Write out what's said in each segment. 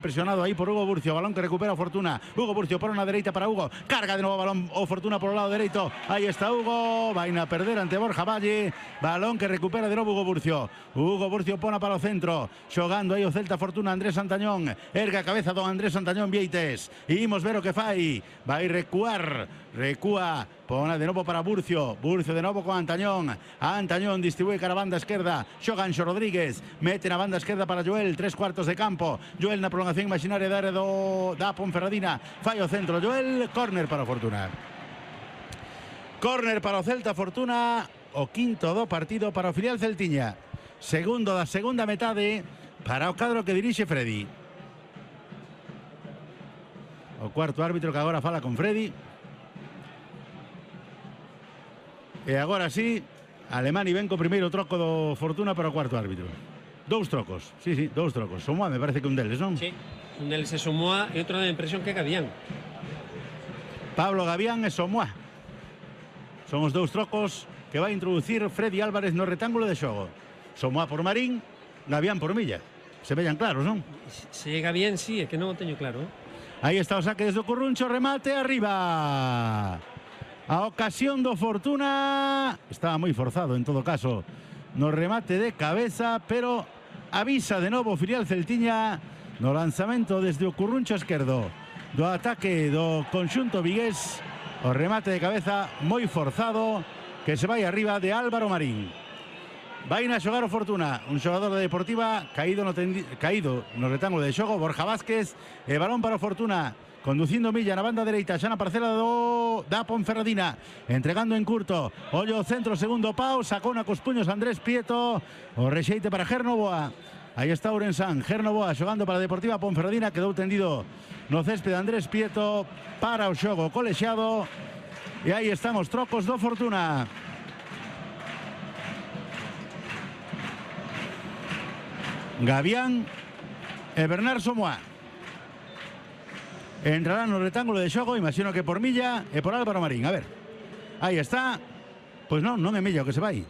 Presionado ahí por Hugo Burcio, balón que recupera Fortuna. Hugo Burcio por una derecha para Hugo. Carga de nuevo balón o Fortuna por el lado derecho. Ahí está Hugo. Va a perder ante Borja Valle. Balón que recupera de nuevo Hugo Burcio. Hugo Burcio pone para el centro. Xogando aí o Celta Fortuna Andrés Santañón. Erga a cabeza don Andrés Santañón Vieites. Imos ver o que fai. Vai recuar. Recúa. Pone de nuevo para Burcio. Burcio de nuevo con Antañón. Antañón distribuye cara a banda izquierda. Xoganxo Rodríguez. Mete na banda izquierda para Joel. 3/4 de campo. Joel na prolongación imaginaria da área da Ponferradina. Fallo centro Joel. Córner para Fortuna. Córner para o Celta Fortuna. O quinto do partido para o filial celtiña. Segundo da segunda metade para o cadro que dirixe Freddy. O cuarto árbitro que agora fala con Freddy. E agora sí, Alemani ven co primeiro troco do Fortuna para o cuarto árbitro. Dous trocos, sí, dous trocos. Somoa me parece que un deles, non? Sí, un deles é Somoa e outro da impresión que é Gavián. Pablo Gavián e Somoa. Son os dous trocos que vai introducir Freddy Álvarez no retángulo de xogo. Somoa por Marín, Gavián por Milla. Se vellan claros, non? Se é Gavián, sí, é que non o teño claro. Aí está o saque desde o Curruncho, remate arriba. A ocasión do Fortuna estaba moi forzado en todo caso no remate de cabeza, pero avisa de novo filial celtiña no lanzamento desde o Curruncho esquerdo do ataque do conxunto vigués. O remate de cabeza moi forzado que se vai arriba de Álvaro Marín. Vai a xogar o Fortuna, un xogador de Deportiva caído no retángulo de xogo, Borja Vázquez, e balón para o Fortuna. Conducindo Milla na banda dereita, xa na parcela da Ponferradina, entregando en curto, ollo o centro, segundo pau, sacou na cos puños Andrés Prieto, o rexeite para Ger Novoa. Aí está Ourensán, Ger Novoa xogando para a Deportiva Ponferradina, quedou tendido no céspede Andrés Prieto para o xogo colexiado, e aí están os trocos do Fortuna. Gavián e Bernard Somoa. Entrará no retángulo de xogo, imagino que por Milla e por Álvaro Marín. A ver, aí está. Pois non é Milla o que se vai.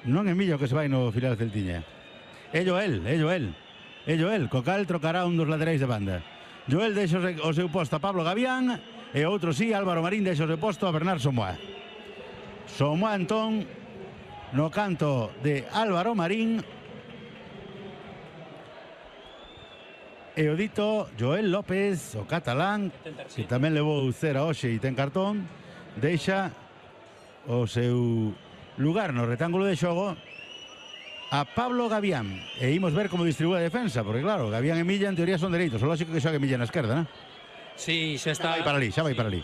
Non é Milla o que se vai no filial celtiña. É Joel. Co cal trocará un dos laterais de banda. Joel deixa o seu posto a Pablo Gavián e outro sí, Álvaro Marín deixa o seu posto a Bernard Somoa. Somoa entón no canto de Álvaro Marín. E o dito Joel López, o catalán, que tamén levou cera hoxe e ten cartón, deixa o seu lugar no retángulo de xogo a Pablo Gavián. E imos ver como distribúe a defensa, porque claro, Gavián e Milla en teoría son dereitos, o lógico que xogue Milla na esquerda, non? Sí, xa está. Xa vai para ali.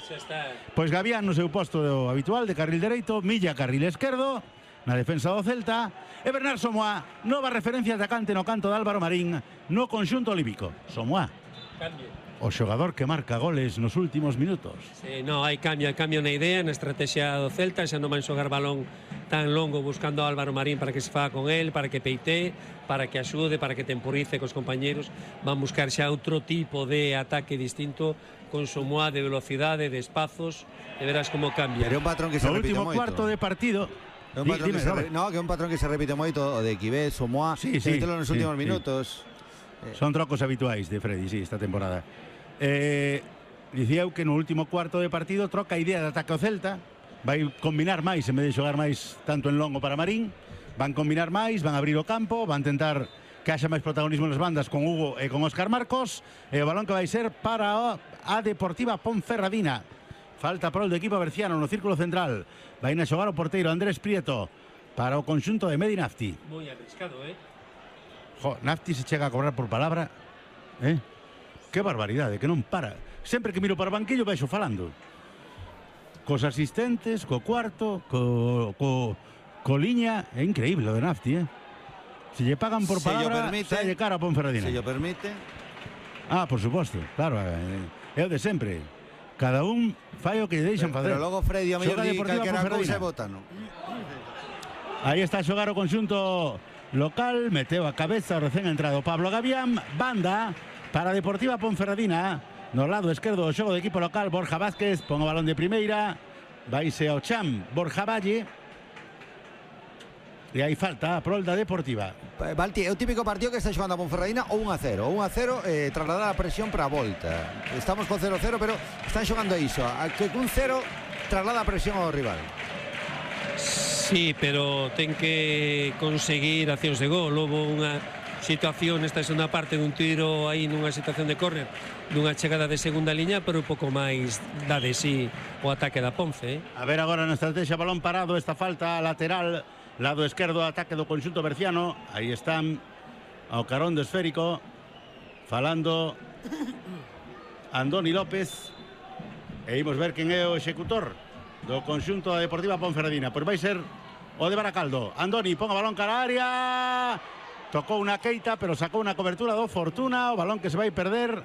Pois Gavián no seu posto habitual de carril dereito, Milla carril esquerdo, na defensa do Celta, e Bernard Somoa, nova referencia atacante no canto de Álvaro Marín no conxunto olímpico. Somoa, Cambio. o xogador que marca goles nos últimos minutos. Sí, no, hai cambio na idea, na estrategia do Celta, xa non van xogar balón tan longo buscando a Álvaro Marín para que se faga con él, para que peite, para que axude, para que temporice cos compañeros. Van buscar xa outro tipo de ataque distinto, con Somoa de velocidade, de espazos, e verás como cambia. Pero un patrón que se repite moito. No último cuarto de partido. Que é un patrón que se repite moito, o de Quibé, Somoa, nos últimos minutos. Son trocos habituais de Freddy, sí, esta temporada. Dicía eu que no último cuarto de partido troca a idea de ataque ao Celta, vai combinar máis en vez de xogar máis tanto en longo para Marín, van combinar máis, van abrir o campo, van tentar que haxa máis protagonismo nas bandas con Hugo e con Óscar Marcos, e o balón que vai ser para a Deportiva Ponferradina. Falta por el do equipo berciano no círculo central. Vai a xogar o porteiro Andrés Prieto para o conxunto de Medi Nafti. Moi arriscado, Nafti se chega a cobrar por palabra. Que barbaridade, que non para. Sempre que miro para o banquillo vexo falando. Cos asistentes, co cuarto, co liña. É increíble o de Nafti, Se lle pagan por palabra, sai de cara a Ponferradina. Se lle permite. Por suposto, claro, é o de sempre. Cada un fai o que lle deixan facer. Pero logo Freddy a mellor di calquera cousa e bota, non? Aí está a xogar o conxunto local, meteu a cabeza o recén entrado Pablo Gavián, banda para a Deportiva Ponferradina, no lado esquerdo do xogo do equipo local, Borja Vázquez, pon o balón de primeira, vaise ao cham Borja Valle, E hai falta a prol da Deportiva. Valti, é o típico partido que está xogando a Ponferradina o 1-0. O 1-0 trasladar a presión para a volta. Estamos con 0-0, pero están xogando iso. Que un 0 traslada a presión ao rival. Sí, pero ten que conseguir accións de gol. Houve unha situación nesta segunda parte dun tiro aí nunha situación de córner, dunha chegada de segunda liña, pero un pouco máis da de sí o ataque da Ponce. A ver agora na estrategia, balón parado, esta falta lateral, lado esquerdo, ataque do conxunto berciano. Aí están ao carón do esférico falando Andoni López, e imos ver quen é o executor do conxunto da Deportiva Ponferradina. Pois vai ser o de Baracaldo. Andoni pon o balón cara a área, tocou unha Keita, pero sacou unha cobertura do Fortuna. O balón que se vai perder,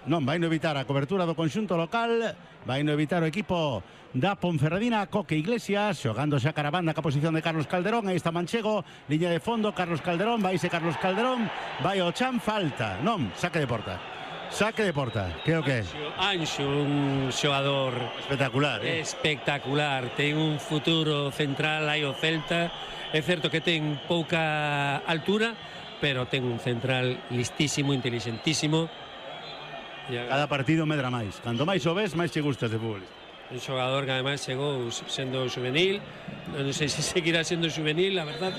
non, vai no evitar a cobertura do conxunto local, vai no evitar o equipo da Ponferradina. Coque Iglesias xogando xa cara a banda ca posición de Carlos Calderón. Aí está Manchego, liña de fondo, Carlos Calderón, vaise Carlos Calderón, vai o chan, falta, non, saque de porta. Saque de porta, que o que é? Anxo, un xogador espectacular, espectacular. Ten un futuro central aí o Celta. É certo que ten pouca altura, pero ten un central listísimo, inteligentísimo. Cada partido medra máis. Canto máis o ves, máis che gustas de futbolista. Un xogador que ademais chegou sendo juvenil. Non sei se seguirá sendo juvenil, a verdade.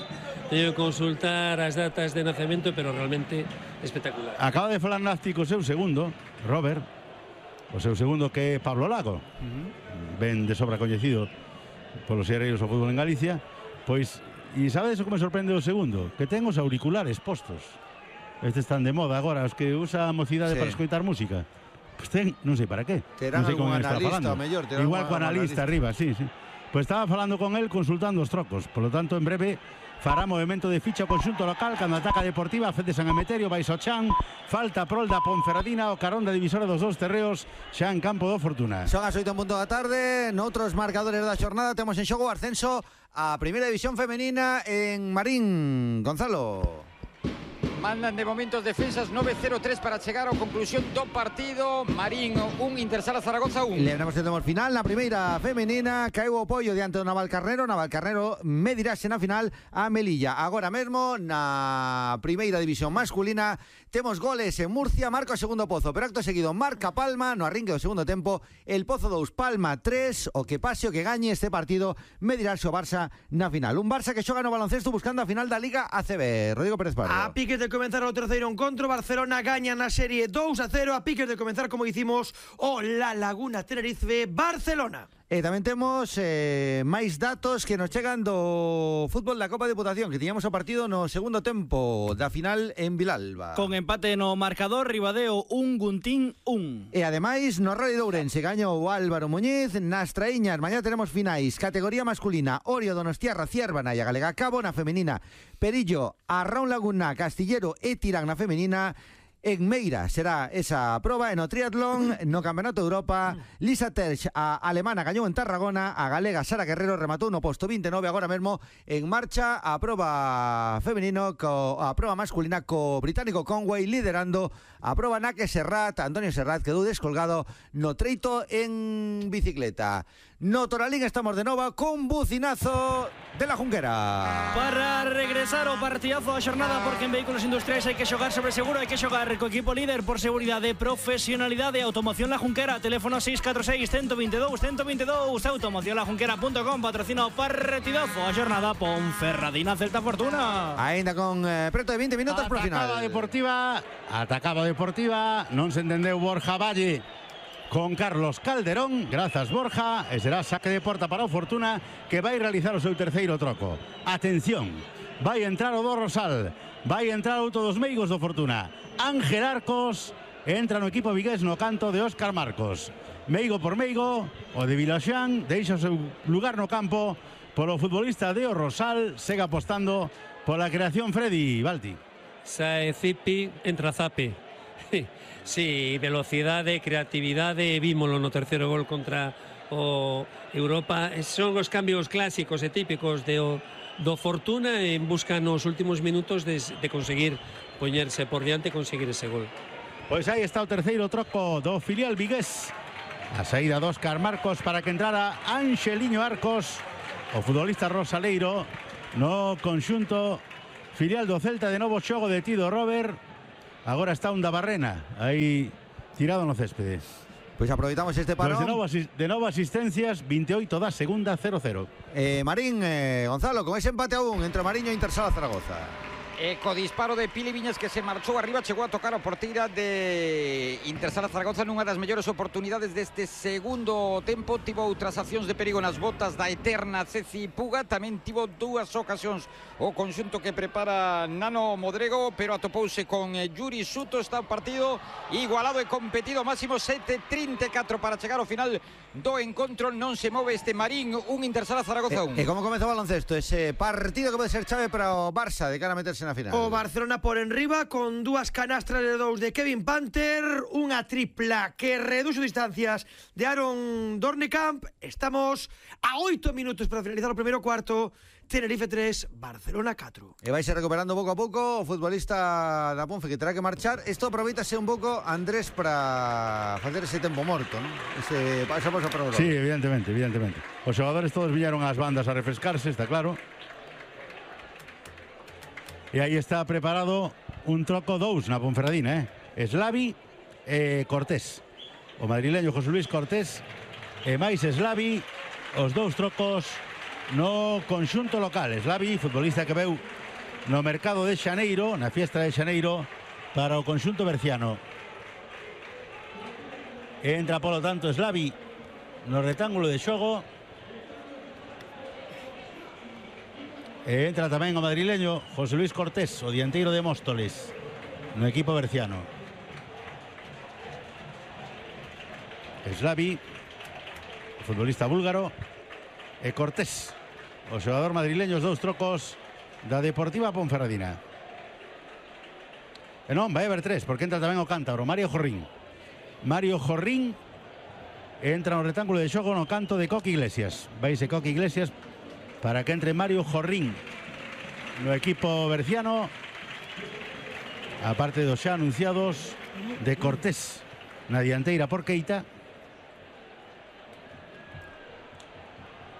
Teño que consultar as datas de nacemento, pero realmente espectacular. Acaba de falar Nafti co seu segundo, Robert, o seu segundo, que é Pablo Lago. Ben de sobra coñecido polos xerreiros do fútbol en Galicia. Pois, e sabedes o que me sorprende o segundo? Que ten os auriculares postos. Estes están de moda agora, os que usa a mocidade para escoitar música. Pois ten, non sei para qué. Terán non sei algún analista, mellor. Igual co analista arriba, sí. Pois estaba falando con el, consultando os trocos. Por lo tanto, en breve fará movimento de ficha o conxunto local cando ataca Deportiva. Fede San Emeterio, vai Chan, falta prol da Ponferradina, o carón da divisora dos dous terreos xa en campo do Fortuna. Son as 8:00 da tarde. Noutros marcadores da xornada temos en xogo o ascenso a Primeira División Femenina en Marín. Gonzalo. Mandan de momentos defensas 9-0-3 para chegar á conclusión do partido. Marín 1, Intersala Zaragoza 1. Lembramos que temos final na primeira femenina. Caeu o apoio diante do Navalcarnero. Navalcarnero medirase na final a Melilla. Agora mesmo na primeira división masculina temos goles en Murcia. Marca o segundo Pozo, pero acto seguido marca Palma no arrinque do segundo tempo. El Pozo 2, Palma 3. O que pase o que gañe este partido medirase o Barça na final. Un Barça que xoga no baloncesto buscando a final da Liga ACB. Rodrigo Pérez Pardo. A piques de comenzar o terceiro encontro, Barcelona gaña na serie 2-0. A piques de comenzar, como dicimos, o La Laguna Tenerife Barcelona. E tamén temos máis datos que nos chegan do fútbol da Copa Diputación, que tiñamos o partido no segundo tempo da final en Vilalba. Con empate no marcador, Ribadeo 1, Guntín 1. E ademais no Rally de Ourense gañou o Álvaro Muñiz. Nas traíñas, mañá tenemos finais. Categoría masculina, Orio Donostiarra Ciérvana e a Galega Cabo. Na femenina, Perillo, Arraun Laguna, Castillero e Tirán na femenina. En Meira será esa proba. En o triatlón, no Campeonato de Europa, Lisa Terch, a alemana, gañou en Tarragona. A galega Sara Guerrero rematou no posto 29. Agora mesmo en marcha a proba femenino, a proba masculina, co británico Conway liderando a proba na que Antonio Serrat quedou descolgado no treito en bicicleta. No Toralín estamos de nova con bucinazo de la Junquera. Para regresar o partidazo da xornada, porque en vehículos industriais hai que xogar sobre seguro, hai que xogar co equipo líder por seguridade, profesionalidade e automoción La Junquera. Teléfono 646-122-122. Automocionlajunquera.com patrocina o partidazo a xornada Ponferradina Celta Fortuna. Ainda con preto de 20 minutos por final. Atacaba Deportiva, non se entendeu Borja Valle con Carlos Calderón, grazas Borja, e será saque de porta para o Fortuna, que vai realizar o seu terceiro troco. Atención, vai entrar o do Rosal, vai entrar outro dos meigos do Fortuna. Ángel Arcos entra no equipo vigués no canto de Óscar Marcos. Meigo por meigo, o de Vilaxán deixa o seu lugar no campo polo futbolista de o Rosal, segue apostando pola creación Freddy Balti. Sae Zipi, entra Zapi. Sí, velocidade, creatividade, vímolo no terceiro gol contra o Europa. Son os cambios clásicos e típicos do Fortuna en busca nos últimos minutos de conseguir poñerse por diante e conseguir ese gol. Pois aí está o terceiro troco do filial vigués. A saída de Óscar Marcos para que entrara Anxeliño Arcos, o futbolista rosaleiro, no conxunto filial do Celta. De novo xogo detido Robert. Agora está un da Barrena aí tirado no céspede. Pois aproveitamos este parón. De novo asistencias, 28 da segunda, 0-0. Marín, Gonzalo, con ese empate aún entre Mariño e Intersala Zaragoza. Co disparo de Pili Viñas, que se marchou arriba, chegou a tocar a porteira de Intersala Zaragoza nunha das mellores oportunidades deste segundo tempo. Tivo outras accións de perigo nas botas da eterna Ceci Puga. Tamén tivo dúas ocasións o conxunto que prepara Nano Modrego, pero atopouse con Yuri Suto. Está o partido igualado e competido, máximo 7:34 para chegar ao final do encontro. Non se move este Marín, un Intersala Zaragoza 1. E como comezou o baloncesto? Ese partido que pode ser chave para o Barça de cara a meterse na final. O Barcelona por enriba con dúas canastras de 2 de Kevin Panther, unha tripla que reduxo distancias de Aaron Dornekamp. Estamos a 8 minutos para finalizar o primeiro cuarto. Tenerife 3, Barcelona 4. E vai ser recuperando pouco a pouco o futbolista da Ponfe, que terá que marchar. Isto aproveitase un pouco, Andrés, para facer ese tempo morto, non? Esa pausa para o Sí, evidentemente. Os xogadores todos viñeron ás bandas a refrescarse, está claro. E aí está preparado un troco 2 na Ponferradina, Slavi e Cortés. O madrileño José Luis Cortés e máis Slavi, os dous trocos no conxunto local. Slavi, futbolista que veu no mercado de Xaneiro, na fiesta de Xaneiro, para o conxunto berciano. Entra, polo tanto, Slavi no rectángulo de xogo. E entra tamén o madrileño José Luis Cortés, o dianteiro de Móstoles, no equipo berciano. Slavi, o futbolista búlgaro, e Cortés, o xogador madrileño, os dous trocos da Deportiva Ponferradina. E non, vai haber 3, porque entra tamén o cántabro, Mario Jorrín. Mario Jorrín entra no rectángulo de xogo no canto de Coque Iglesias. Vaise Coque Iglesias para que entre Mario Jorrín no equipo berciano, aparte dos xa anunciados de Cortés na dianteira por Keita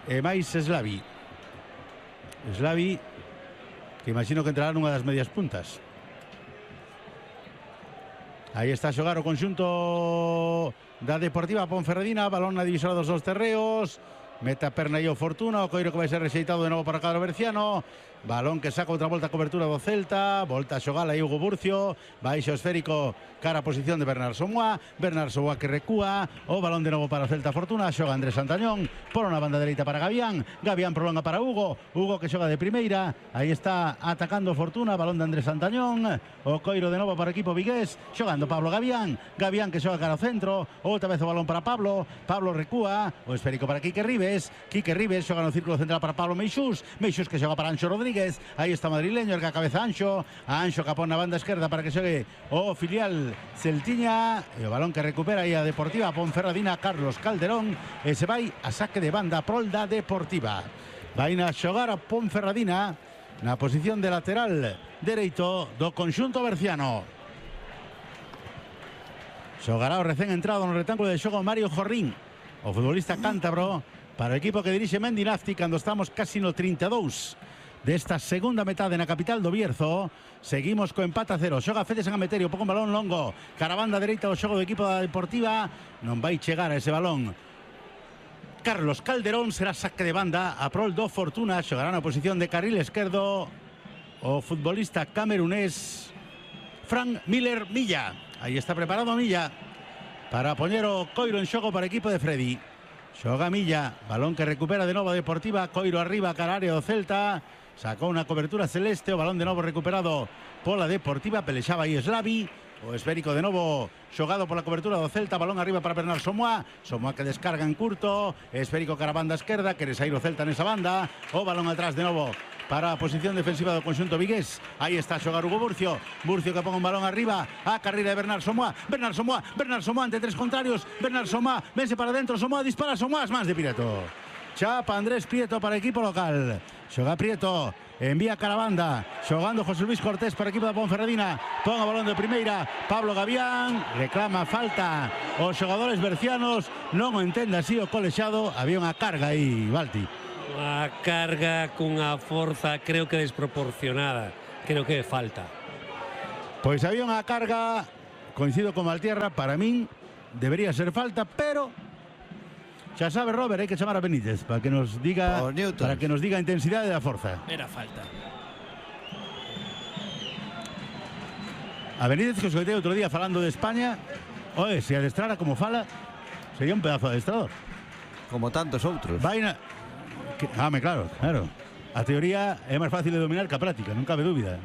e máis Slavi, que imagino que entrará nunha das medias puntas. Aí está a xogar o conxunto da Deportiva Ponferradina, balón na divisora dos dous terreos. Mete a perna e o Fortuna, o coiro que vai ser rexeitado de novo para o cadro berciano. Balón que saca outra volta a cobertura do Celta. Volta a xogar aí Hugo Burcio. Baixo esférico cara a posición de Bernard Somoa. Bernard Somoa que recúa. O balón de novo para o Celta Fortuna. Xoga Andrés Santañón. Por unha banda dereita para Gavián. Gavián prolonga para Hugo. Hugo que xoga de primeira. Aí está atacando Fortuna. Balón de Andrés Santañón. O coiro de novo para o equipo vigués. Xogando Pablo Gavián. Gavián que xoga cara ao centro. Outra vez o balón para Pablo. Pablo recúa. O esférico para Quique Ribes. Quique Ribes xoga no círculo central para Pablo Meixús. Meixús que xoga para Anxo Rodríguez. Aí está madrileño, erga a cabeza Anxo. A Anxo capón na banda esquerda para que xogue o filial Celtiña. E o balón que recupera aí a Deportiva Ponferradina, Carlos Calderón. E se vai a saque de banda prol da Deportiva. Vai a xogar a Ponferradina na posición de lateral dereito do conxunto berciano. Xogará o recén entrado no rectángulo de xogo Mario Jorrín, o futbolista cántabro, para o equipo que dirixe Mendi Nafti cando estamos casi no 32 desta segunda metade na capital do Bierzo. Seguimos co empate a 0. Xoga Fede San Ameterio, pouco un balón longo cara a banda dereita do xogo do equipo da Deportiva. Non vai chegar a ese balón Carlos Calderón. Será saque de banda a prol do Fortuna. Xogará na posición de carril esquerdo o futbolista camerunés Frank Miller Milla. Aí está preparado Milla para poñer o coiro en xogo para o equipo de Freddy. Xoga Milla, balón que recupera de novo a Deportiva, coiro arriba cara área do Celta, sacou unha cobertura celeste, o balón de novo recuperado pola Deportiva, pelexaba aí Slavi, o esférico de novo xogado pola cobertura do Celta, balón arriba para Bernard Somoa, Somoa que descarga en curto, esférico cara a banda esquerda, quere sair o Celta nesa banda, o balón atrás de novo para a posición defensiva do conxunto vigués. Aí está a xogar Hugo Burcio. Burcio que pon un balón arriba a carreira de Bernard Somoa. Bernard Somoa ante tres contrarios. Bernard Somoa, vense para dentro. Somoa dispara, Somoa as mans de Prieto. Chapa Andrés Prieto para equipo local. Xoga Prieto, envía cara a banda. Xogando José Luis Cortés para equipo da Ponferradina. Pon o balón de primeira Pablo Gavián. Reclama falta os xogadores bercianos. Non o entende así o colexado. Había unha carga aí, Balti. A carga cunha forza creo que desproporcionada. Creo que falta. Pois había unha carga, coincido con Maltierra, para min debería ser falta, pero xa sabe Robert, hai que chamar a Benítez para que nos diga a intensidade da forza. Era falta. A Benítez, que os coitei outro día falando de España, oe, se adestrara como fala, sería un pedazo de adestrador. Como tantos outros. Claro. A teoría é máis fácil de dominar que a práctica, non cabe dúbida.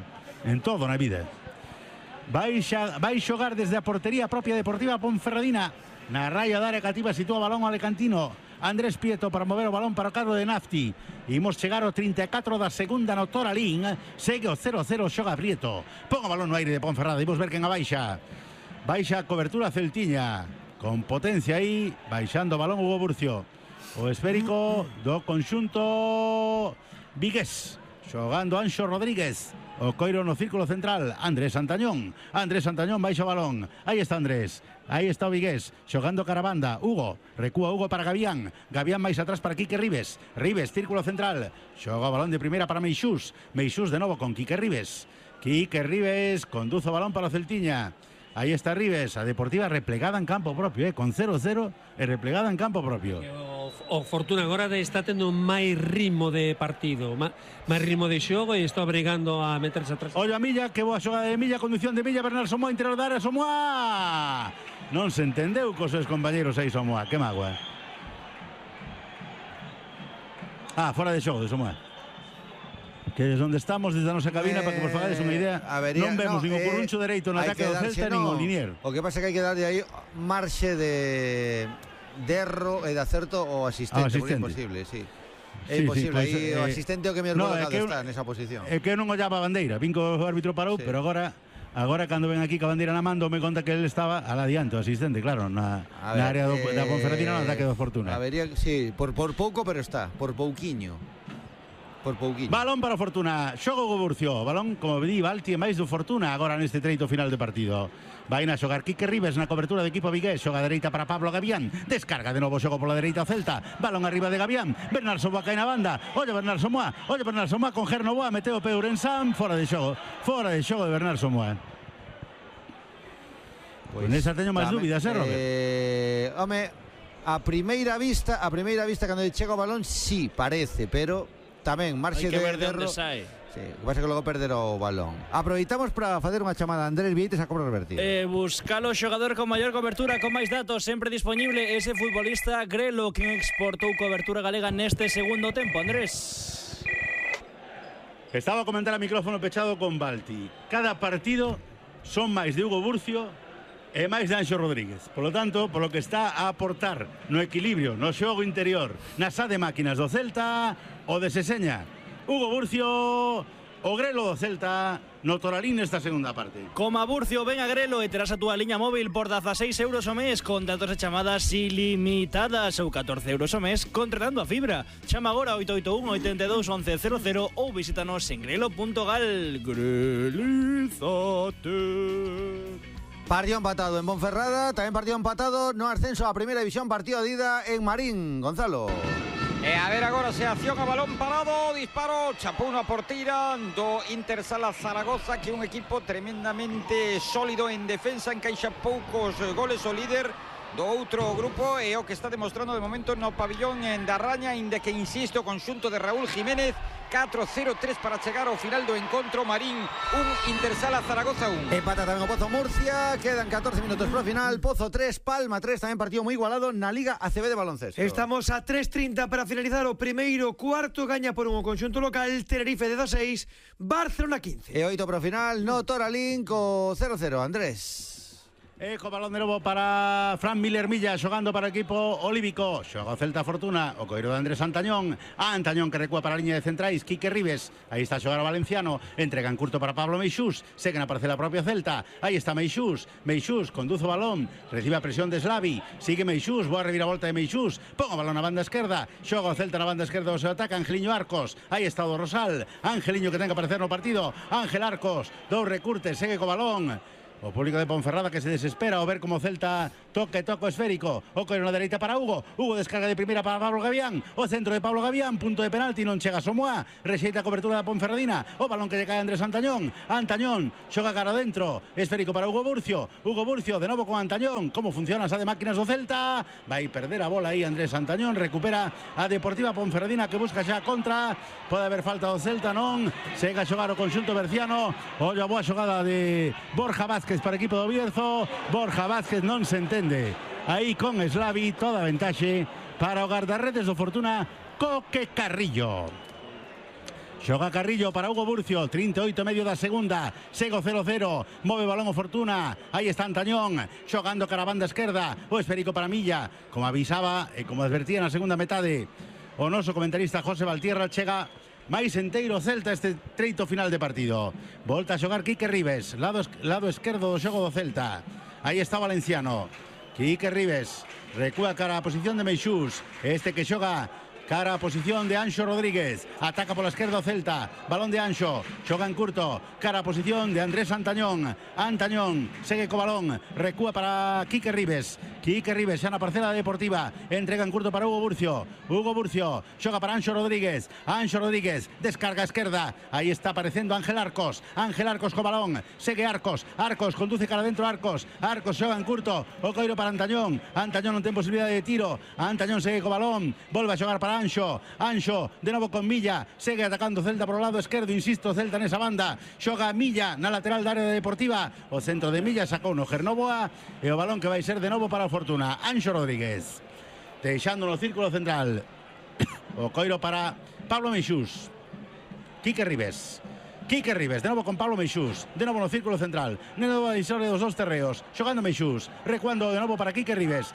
En todo na vida. Vai xogar desde a portería propia Deportiva Ponferradina. Na raya da área cativa sitúa o balón o alecantino Andrés Prieto para mover o balón para o cargo de Nafti. Imos chegar ao 34 da segunda no Toralín. Segue o 0-0, xoga Prieto. Pon o balón no aire de Ponferrada. Imos ver quen abaixa. Baixa a cobertura Celtiña. Con potencia aí, baixando o balón Hugo Burcio. O esférico do conxunto vigués. Xogando Anxo Rodríguez. O coiro no círculo central. Andrés Santañón baixa o balón. Aí está Andrés. Aí está o vigués. Xogando cara a banda. Hugo. Recúa Hugo para Gavián. Gavián máis atrás para Quique Ribes. Ribes, círculo central. Xoga o balón de primeira para Meixús. Meixús de novo con Quique Ribes. Quique Ribes conduce o balón para o Celtiña. Aí está Ribes, a Deportiva replegada en campo propio, con 0-0 e replegada en campo propio. O Fortuna agora está tendo máis ritmo de partido, máis ritmo de xogo e está obrigando a meterse atrás. Ollo a Milla, que boa xogada de Milla, conducción de Milla, Bernal Somoa, interior da área, Somoa! Non se entendeu cos seus compañeros aí, Somoa, que mágoa. Fora de xogo de Somoa. Que é onde estamos desde a nosa cabina para que vos fagades unha idea. Non vemos nin o curruncho dereito no ataque do Celta nin o linier. O que pasa é que hai que darlle aí marxe de erro e de acerto ao asistente, porque é imposible, sí. É imposible, aí o asistente o que mellor colocado está nesa posición. É que eu non ollaba a bandeira, vin que o árbitro parou, pero agora cando ven aquí que a bandeira na mando me conta que ele estaba al adiante, o asistente, claro, na área da Ponferradina no ataque do Fortuna. Sí, por pouco, pero está, por pouquiño. Balón para o Fortuna, xogo Hugo Burcio. Balón, como di, Balti e máis do Fortuna agora neste treito final de partido. Vai na xogar Quique Ribes na cobertura de equipo vigués. Xoga a dereita para Pablo Gavián. Descarga de novo xogo pola dereita o Celta. Balón arriba de Gavián. Bernal Somoa cae na banda. Olle Bernal Somoa con Gerno Boa. Meteo Peurensán. Fora de xogo de Bernal Somoa. Con esa teño máis dúbidas, Robert? Home, a primeira vista cando chega o balón, sí, parece, pero tamén marxe de erro. Sí, o que pasa que logo perder o balón. Aproveitamos para facer unha chamada a Andrés Vieites a cobro revertido. Buscalo xogador con maior cobertura, con máis datos, sempre disponible ese futbolista Grelo, quen exportou cobertura galega neste segundo tempo. Andrés. Estaba a comentar a micrófono pechado con Balti. Cada partido son máis de Hugo Burcio e máis de Anxo Rodríguez. Por lo tanto, polo que está a aportar no equilibrio, no xogo interior, na xa de máquinas do Celta, o de Seseña, Hugo Burcio, o Grelo do Celta, no Toralín nesta segunda parte. Coma Burcio, ven a Grelo e terás a túa liña móvil por 16 euros o mes con datos e chamadas ilimitadas ou 14 euros o mes contratando a fibra. Chama agora 881 82 11 00 ou visítanos en grelo.gal. Grelízate. Partido empatado en Ponferrada, tamén partido empatado no ascenso a primeira división, partido de ida en Marín. Gonzalo. A ver agora se acción a balón parado, disparo, chapou unha porteira do Intersala Zaragoza, que é un equipo tremendamente sólido en defensa, encaixa poucos goles, o líder do outro grupo e o que está demostrando de momento no pabillón da Raña, inda que insiste o conxunto de Raúl Jiménez. 4-0-3 para chegar ao final do encontro. Marín 1, Intersala Zaragoza 1. Empata tamén o Pozo Murcia, quedan 14 minutos para o final. Pozo 3, Palma 3, tamén partido moi igualado na Liga ACB de baloncesto. Estamos a 3:30 para finalizar o primeiro cuarto. Gaña por un conxunto local, Tenerife 16, Barcelona 15. E 8 para o final no Toralín co 0-0, Andrés. Co balón de novo para Fran Miller Milla, xogando para o equipo olívico. Xoga o Celta Fortuna, o coiro de Andrés Antañón. Antañón que recúa para a liña de centrais, Quique Ribes. Aí está a xogar o valenciano, entrega en curto para Pablo Meixús. Segue na parcela propia Celta. Aí está Meixús. Meixús conduce o balón, recibe a presión de Slavi. Sigue Meixús, boa reviravolta de Meixús. Pon o balón na banda esquerda. Xoga o Celta na banda esquerda do seu ataque, Angeliño Arcos. Aí está o Rosal. Angeliño que ten que aparecer no partido. Ángel Arcos, dous recurtes, segue co balón. O público de Ponferrada que se desespera ao ver como Celta toque esférico. O coiro na dereita para Hugo. Hugo descarga de primeira para Pablo Gavián. O centro de Pablo Gavián, punto de penalti, non chega Somoa. Rexeita a cobertura da Ponferradina. O balón que lle cae a Andrés Antañón. Antañón xoga cara adentro. Esférico para Hugo Burcio. Hugo Burcio de novo con Antañón. Como funciona esa de máquinas do Celta? Vai perder a bola aí Andrés Antañón. Recupera a Deportiva Ponferradina que busca xa contra. Pode haber falta do Celta, non? Sega a xogar o conxunto berciano. Ollo a boa xogada de Borja Vázquez para equipo do Bierzo. Borja Vázquez non se entende aí con Slavi, toda ventaxe para o guardarredes do Fortuna, Coque Carrillo. Xoga Carrillo para Hugo Burcio, 38 medio da segunda, sego 0-0, move balón o Fortuna, aí está Antañón, xogando cara a banda esquerda, o esférico para Milla, como avisaba e como advertía na segunda metade o noso comentarista José Valtierra, chega máis enteiro Celta este treito final de partido. Volta a xogar Quique Ribes, lado esquerdo do xogo do Celta. Aí está Valenciano. Quique Ribes recúa cara a posición de Meixús. Este que xoga cara a posición de Anxo Rodríguez. Ataca pola esquerda o Celta. Balón de Anxo. Xoga en curto. Cara a posición de Andrés Antañón. Antañón segue co balón. Recúa para Quique Ribes. Quique Ribes xa na parcela deportiva. Entrega en curto para Hugo Burcio. Hugo Burcio xoga para Anxo Rodríguez. Anxo Rodríguez descarga a esquerda. Aí está aparecendo Ángel Arcos. Ángel Arcos co balón. Segue Arcos. Arcos conduce cara dentro Arcos. Arcos xoga en curto. O coiro para Antañón. Antañón non ten posibilidade de tiro. Antañón segue co balón. Volve a xogar para Anxo de novo con Milla, segue atacando Celta por o lado esquerdo, insisto, Celta nesa banda, xoga Milla na lateral da área deportiva, o centro de Milla sacou no Gernoboa e o balón que vai ser de novo para o Fortuna. Anxo Rodríguez deixando no círculo central o coiro para Pablo Meixús. Quique Ribes, de novo con Pablo Meixús, de novo no círculo central, de novo a divisória dos dous terreos, xogando Meixús, recuando de novo para Quique Ribes.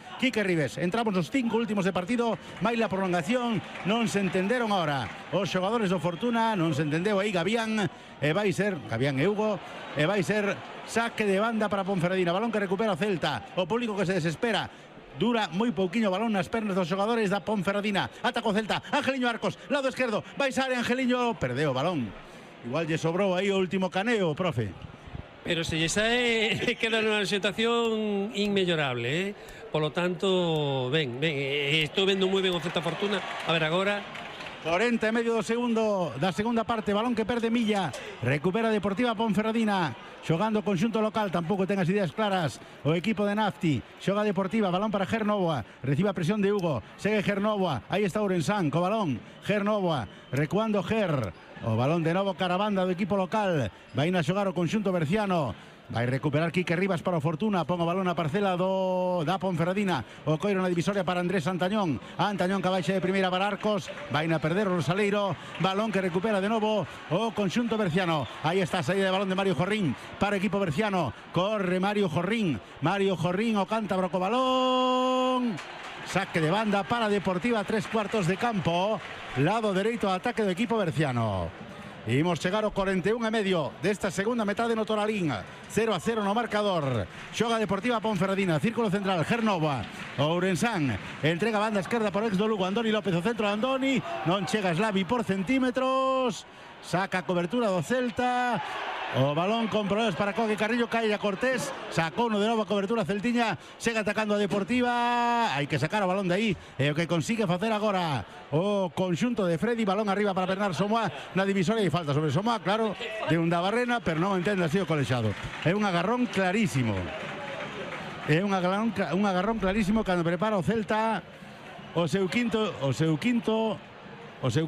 Entramos nos 5 últimos de partido, máis la prolongación, non se entenderon agora os xogadores do Fortuna, non se entendeu aí Gavián, e vai ser, Gavián e Hugo, e vai ser saque de banda para Ponferradina, balón que recupera o Celta, o público que se desespera. Dura moi pouquiño balón nas pernas dos xogadores da Ponferradina. Atacou Celta, Angeliño Arcos, lado esquerdo, vai sair Angeliño, perdeu o balón. Igual lle sobrou aí o último caneo, profe. Pero se lle sae, queda nunha situación inmellorable, Por lo tanto, estou vendo moi ben o Celta Fortuna. A ver agora. 40 e medio do segundo da segunda parte, balón que perde Milla, recupera Deportiva Ponferradina, xogando conxunto local, tampouco ten as ideas claras o equipo de Nafti, xoga Deportiva, balón para Gernoboa, recibe a presión de Hugo, segue Gernoboa, aí está Ourensán, co balón, Gernoboa, recuando o balón de novo cara a banda do equipo local, vai a xogar o conxunto berciano. Vai recuperar Quique Ribas para o Fortuna, pon o balón na parcela da Ponferradina, o coiro na divisoria para Andrés Antañón, Antañón que baixa de primeira para Arcos, vai a perder o Rosaleiro, balón que recupera de novo o conxunto berciano. Aí está a saída de balón de Mario Jorrín para o equipo berciano, corre Mario Jorrín o cántabro co balón, saque de banda para Deportiva, 3/4 de campo, lado dereito ao ataque do equipo berciano. Imos chegar ao 41 e medio desta segunda metade no Toralín, 0-0 no marcador. Xoga Deportiva Ponferradina, círculo central, Gernoboa, Ourensán, entrega a banda esquerda por ex do Lugo, Andoni López, o centro de Andoni, non chega Slavi por centímetros, saca a cobertura do Celta, o balón con problemas para Coque Carrillo, cae a Cortés, sacou no de novo a cobertura celtiña, segue atacando a Deportiva, hai que sacar o balón de aí, e o que consigue facer agora o conxunto de Freddy, balón arriba para Bernard Somoa na divisoria e falta sobre Somoa, claro, de un da Barrena, pero non entende así o colexado. É un agarrón clarísimo. É un agarrón clarísimo cando prepara o Celta o seu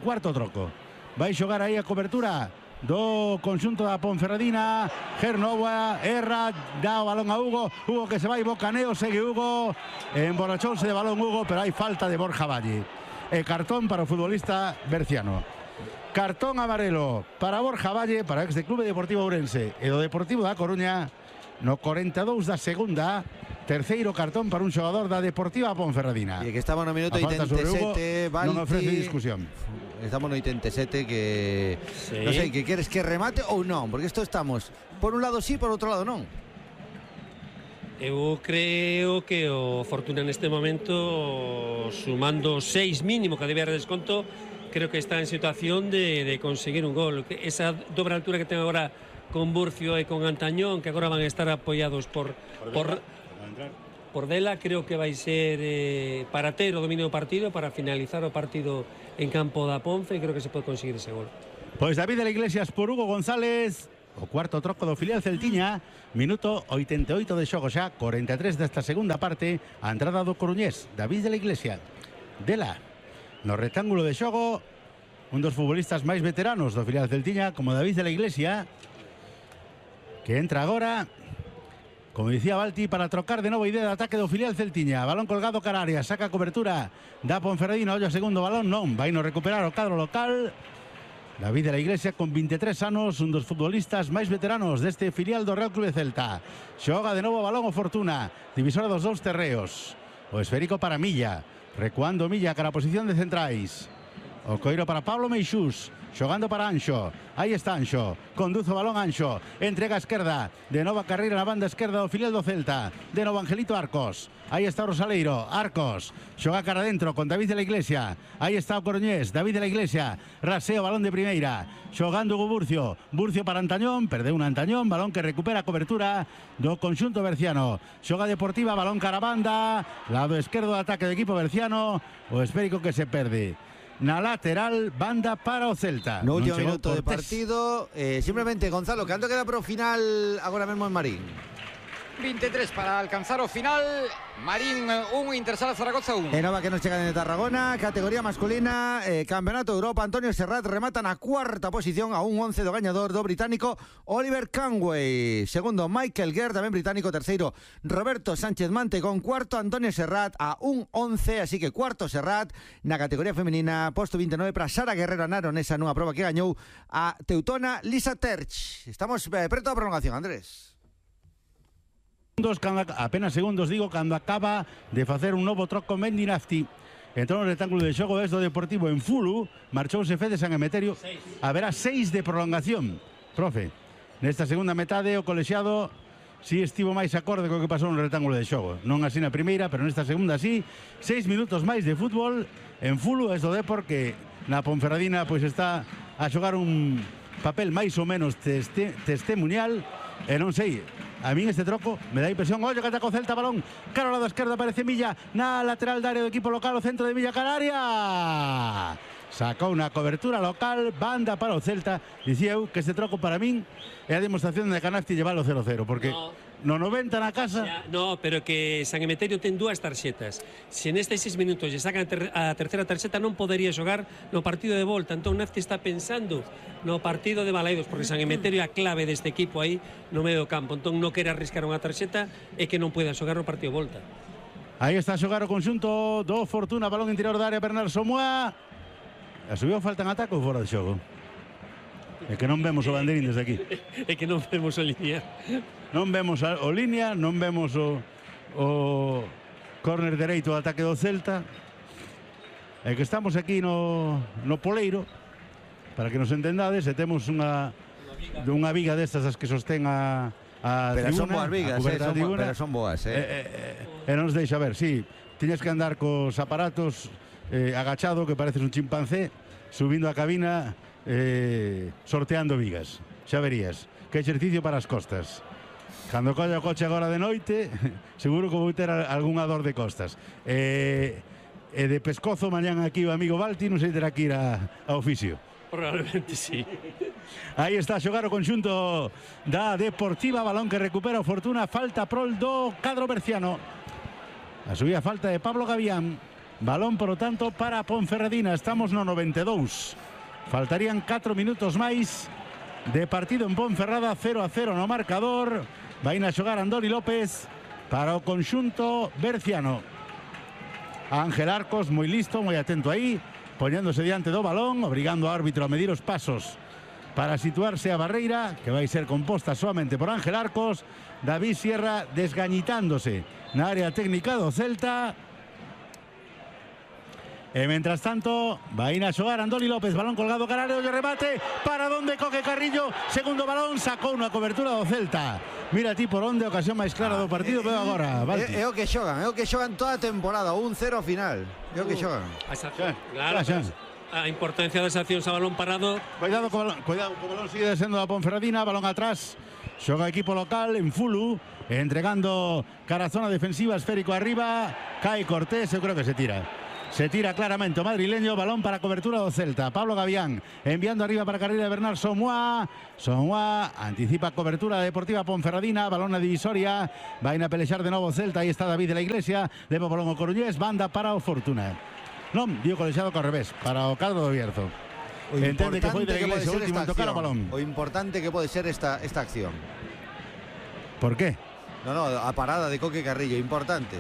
cuarto troco. Vai xogar aí a cobertura do conxunto da Ponferradina, Gernoboa, erra, dá o balón a Hugo que se vai, bocaneo, segue Hugo, emborrachouse de balón Hugo, pero hai falta de Borja Valle, e cartón para o futbolista berciano. Cartón amarelo para Borja Valle, para o ex de Clube Deportivo Ourense e do Deportivo da Coruña, no 42 da segunda, terceiro cartón para un xogador da Deportiva Ponferradina. E que estaba no minuto 87, Valti, non ofrece discusión. Estamos no 87 que... Sí. Non sei, que queres que remate ou non? Porque isto estamos, por un lado sí, por outro lado non. Eu creo que o Fortuna neste momento, sumando 6 mínimo que debe haber desconto, creo que está en situación de conseguir un gol. Esa dobre altura que ten agora con Burcio e con Antañón, que agora van a estar apoiados por Dela. Creo que vai ser para ter o dominio do partido, para finalizar o partido en campo da Ponce, e creo que se pode conseguir ese gol. Pois David de la Iglesias por Hugo González, o cuarto troco do filial celtiña, minuto 88 de xogo xa, 43 desta segunda parte, a entrada do coruñés, David de la Iglesia. Dela, no rectángulo de xogo, un dos futbolistas máis veteranos do filial celtiña, como David de la Iglesia, que entra agora, como dicía Balti, para trocar de novo idea de ataque do filial celtiña. Balón colgado cara área, saca cobertura da Ponferradina, ollo segundo balón, non, vai no recuperar o cadro local. David de la Iglesia con 23 anos, un dos futbolistas máis veteranos deste filial do Real Clube Celta. Xoga de novo balón o Fortuna, divisora dos dous terreos. O esférico para Milla, recuando Milla cara a posición de centrais. O coiro para Pablo Meixús, xogando para Anxo. Aí está Anxo, conduce o balón Anxo, entrega a esquerda, de nova carreira na banda esquerda do filial do Celta, de novo Angelito Arcos. Aí está o Rosaleiro, Arcos, xoga cara dentro con David de la Iglesia. Aí está o coruñés, David de la Iglesia, rasea o balón de primeira, xogando o Burcio, Burcio para Antañón, perdeu un Antañón, balón que recupera a cobertura do conxunto berciano. Xoga Deportiva, balón cara a banda, lado esquerdo do ataque do equipo berciano, o esférico que se perde. Na lateral, banda para o Celta. No último minuto de partido, simplemente, Gonzalo, canto queda pro final agora mesmo en Marín? 23 para alcanzar o final. Marín 1, Intersala Zaragoza 1. Nova que nos chega de Tarragona, categoría masculina, Campeonato de Europa. Antonio Serrat remata na cuarta posición a un 11 do gañador do británico Oliver Canway. Segundo, Michael Guerre, tamén británico. Terceiro, Roberto Sánchez Mante con cuarto. Antonio Serrat a un 11, así que cuarto Serrat na categoría femenina. Posto 29 para Sara Guerrero Naronesa nunha proba que gañou a teutona Lisa Terch. Estamos preto a prolongación, Andrés. Apenas segundos, digo, cando acaba de facer un novo troco Mendy Nafti. Entrou no rectángulo de xogo do Deportivo en Fulu, marchouse Fede San Emeterio. Haberá 6 de prolongación. Profe, nesta segunda metade o colexiado si estivo máis acorde co que pasou no rectángulo de xogo. Non así na primeira, pero nesta segunda sí. 6 minutos máis de fútbol en Fulu, es do Depor que na Ponferradina pois está a xogar un papel máis ou menos testimonial. E non sei, a min este troco me dá impresión. Ollo que ataca o Celta, balón cara ao lado esquerdo, aparece Milla na lateral da área do equipo local, o centro de Milla cara área. Sacou unha cobertura local, banda para o Celta. Dicía eu que este troco para min é a demostración de Canasti llevar o 0-0, porque no 90 na casa... No, pero que San Emeterio ten dúas tarxetas. Se nestes 6 minutos lle sacan a terceira tarxeta, non podería xogar no partido de volta. Entón Nafti está pensando no partido de Balaidos, porque San Emeterio é a clave deste equipo aí no medio do campo. Entón non quere arriscar unha tarxeta e que non poida xogar no partido de volta. Aí está a xogar o conxunto do Fortuna, balón interior da área, Bernard Somoa. A subiu falta en ataque ou fora de xogo? É que non vemos o banderín desde aquí. É que non vemos o línea. Non vemos o línea, non vemos o córner dereito do ataque do Celta. É que estamos aquí no Poleiro, para que nos entendades, e temos unha viga destas as que sostén a pero tribuna. Son boas vigas, pero son boas. E non nos deixa ver, sí. Tiñes que andar cos aparatos agachado, que pareces un chimpancé, subindo a cabina, sorteando vigas. Xa verías, que exercicio para as costas. Cando colla o coche agora de noite, seguro que vou ter algunha dor de costas. E de pescozo mañán aquí o amigo Balti, non sei terá que ir a oficio. Probablemente sí. Aí está a xogar o conxunto da Deportiva, balón que recupera o Fortuna, falta prol do cadro berciano. A subida falta de Pablo Gavián, balón por lo tanto para Ponferradina. Estamos no 92, faltarían 4 minutos máis de partido en Ponferrada. 0-0 no marcador. Vai a xogar Andoni López para o conxunto berciano. Ángel Arcos moi listo, moi atento aí, poñéndose diante do balón, obrigando ao árbitro a medir os pasos para situarse a barreira, que vai ser composta solamente por Ángel Arcos. David Sierra desgañitándose na área técnica do Celta. E mentras tanto, vai a xogar Andoni López, balón colgado caralho, de remate, para donde Coque Carrillo, segundo balón, sacou unha cobertura do Celta. Mira ti por onde, ocasión máis clara do partido, veo agora, Balti. É o que xogan toda a temporada, 1-0 final. É o que xogan. Claro, a importancia das accións a balón parado. Cuidado co balón sigue descendo da Ponferradina, balón atrás. Xoga equipo local en Fulu, entregando cara a zona defensiva, esférico arriba, cae Cortés, eu creo que se tira. Se tira claramente o madrileño, balón para cobertura do Celta. Pablo Gavián enviando arriba para a carreira de Bernard Somoa. Somoa anticipa cobertura Deportiva Ponferradina, balón na divisoria. Vai a pelexar de novo Celta, aí está David de la Iglesia, leva o balón o Coruñés, banda para o Fortuna. Non, dio colexado co revés, para o cadro do Bierzo. Entende que foi de la Iglesia o último en tocar o balón. O importante que pode ser esta acción. Por qué? No, a parada de Coque Carrillo, importante.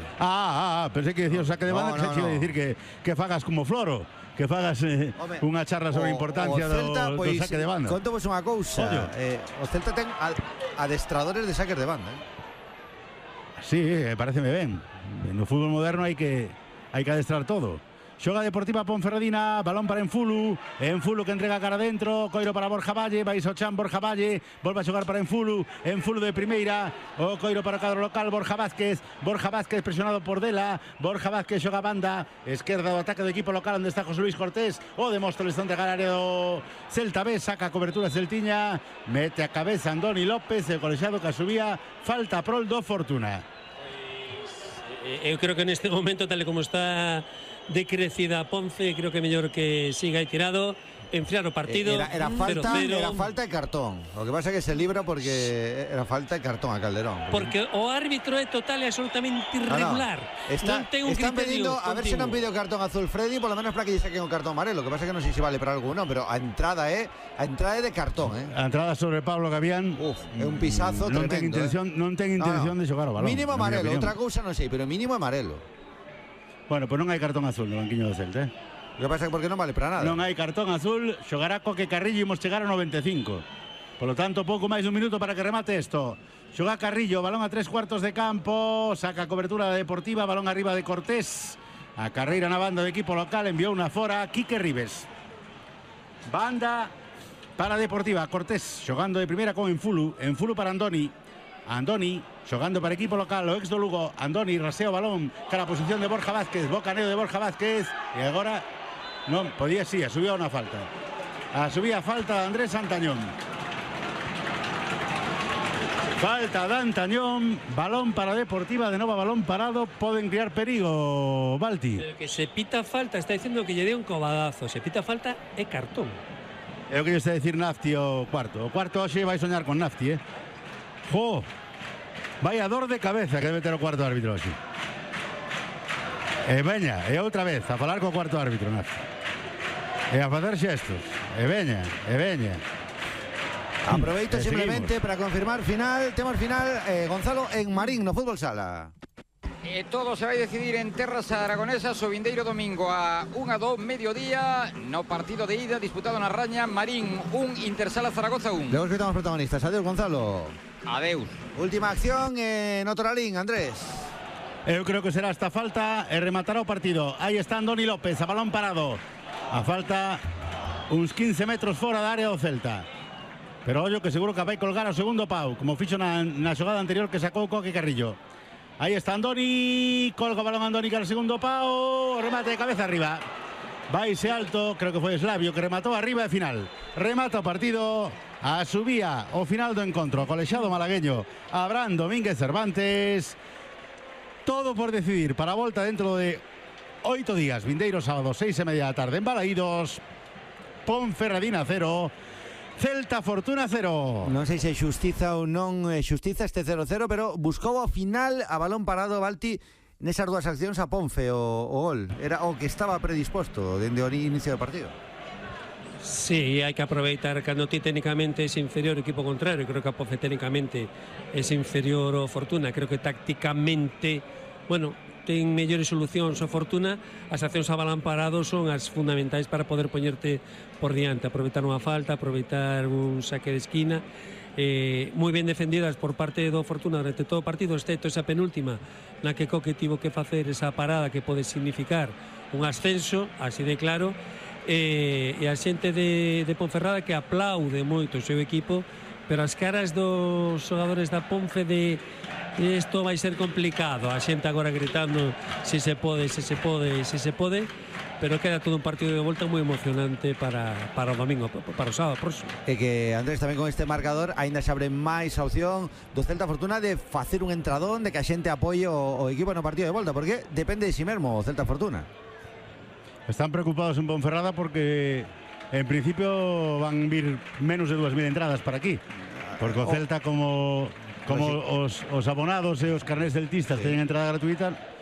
Pensei que decía o saque de banda, que se iba a dicir que fagas como Floro, que fagas unha charla sobre a importancia Celta, do saque de banda. Conto vos unha cousa, o Celta ten adestradores de saques de banda. Sí, pareceme ben. No fútbol moderno hai que adestrar todo. Xoga Deportiva Ponferradina, balón para Enfulu que entrega cara adentro, coiro para Borja Valle, vai Sochan, Borja Valle, volve a xogar para Enfulu de primeira, o coiro para o cadro local, Borja Vázquez presionado por Dela, Borja Vázquez xoga banda, esquerda do ataque do equipo local onde está José Luis Cortés, o de Móstoles onde entregar área do Celta B, saca a cobertura Celtiña, mete a cabeza Andoni López, o colexiado que subía, falta prol do Fortuna. Eu creo que neste momento, tal como está decrecida Ponce, creo que é mellor que siga aí tirado, enfriar o partido. Era falta e cartón. O que pasa é que se libra porque era falta e cartón a Calderón. Porque o árbitro é total e absolutamente irregular. Non ten un criterio pedindo, a ver se non pide o cartón azul Freddy, por lo menos para que lle saquen o cartón amarelo. O que pasa é que non sei se vale para algo, non, pero a entrada é de cartón, A entrada sobre Pablo Gavián. É un pisazo tremendo. Non ten intención de xogar o balón. Mínimo amarelo, outra cousa non sei, pero mínimo amarelo. Bueno, pues non hai cartón azul no banquiño do Celta, O que pasa é porque non vale para nada. Non hai cartón azul, xogará Coque Carrillo e imos chegar ao 95. Por lo tanto, pouco máis dun minuto para que remate isto. Xoga Carrillo, balón a 3/4 de campo, saca cobertura da Deportiva, balón arriba de Cortés. A carreira na banda do equipo local, enviou unha fora Quique Ribes. Banda para Deportiva, Cortés xogando de primeira con Enfulu para Andoni xogando para equipo local, o ex do Lugo. Andoni rasea o balón cara a posición de Borja Vázquez, bocaneo de Borja Vázquez, e agora non, podía si, asubía unha falta. Asubía falta de Andrés Antañón. Falta de Antañón, balón para Deportiva, de novo balón parado, poden criar perigo, Balti. Pero que se pita falta, está dicindo que lle dé un cobadazo, se pita falta é cartón. É o que lle está a decir Nafti o cuarto. O cuarto hoxe vai soñar con Nafti, vaya dor de cabeza que debe ter o cuarto árbitro hoxe. E veña, e outra vez a falar co cuarto árbitro, Nafti. E a facer xestos. E veña. Aproveito simplemente para confirmar temos final, Gonzalo, en Marín, no Fútbol Sala. Todo se vai decidir en terras aragonesas o vindeiro domingo a 1:02 mediodía no partido de ida disputado na Raña. Marín 1, Intersala Zaragoza 1. Luego que estamos protagonistas. Adiós, Gonzalo. Adeus. Última acción en Otoralín, Andrés. Eu creo que será esta falta e rematará o partido. Aí está Andoni López, a balón parado. A falta uns 15 metros fora da área do Celta. Pero ollo que seguro que vai colgar o segundo pau, como fixo na xogada anterior que sacou Coque Carrillo. Aí está Andoni, colga o balón Andoni cara o segundo pau, remate de cabeza arriba. Vaise alto, creo que foi Slavio que rematou arriba e final. Remata o partido, a subía o final do encontro, colexiado malagueño Abraham Domínguez Cervantes. Todo por decidir para a volta dentro de 8 días, vindeiro sábado 6:30 da tarde en Balaídos. Ponferradina 0, Celta Fortuna 0. Non sei se xustiza ou non xustiza este 0-0, pero buscou ao final a balón parado Balti nesas dúas accións a Ponfe o gol. Era o que estaba predisposto dende o inicio do partido. Sí, hai que aproveitar cando ti técnicamente es inferior o equipo contrario. Creo que a Ponfe técnicamente es inferior ao Fortuna. Creo que tácticamente, bueno, ten mellores solucións o Fortuna. As accións a balón parado son as fundamentais para poder poñerte por diante, aproveitar unha falta, aproveitar un saque de esquina. Moi ben defendidas por parte do Fortuna durante todo o partido, excepto esa penúltima na que Coque tivo que facer esa parada que pode significar un ascenso, así de claro. E a xente de Ponferrada que aplaude moito o seu equipo pero as caras dos xogadores da Ponce de isto vai ser complicado, a xente agora gritando se se pode, pero queda todo un partido de volta moi emocionante para o domingo, para o sábado próximo. E que, Andrés, tamén con este marcador aínda se abre máis a opción do Celta Fortuna de facer un entradón, de que a xente apoie o equipo no partido de volta, porque depende de si mesmo o Celta Fortuna. Están preocupados en Ponferrada porque en principio van vir menos de 2.000 entradas para aquí, porque o Celta como os abonados e os carnés celtistas teñen entrada gratuita,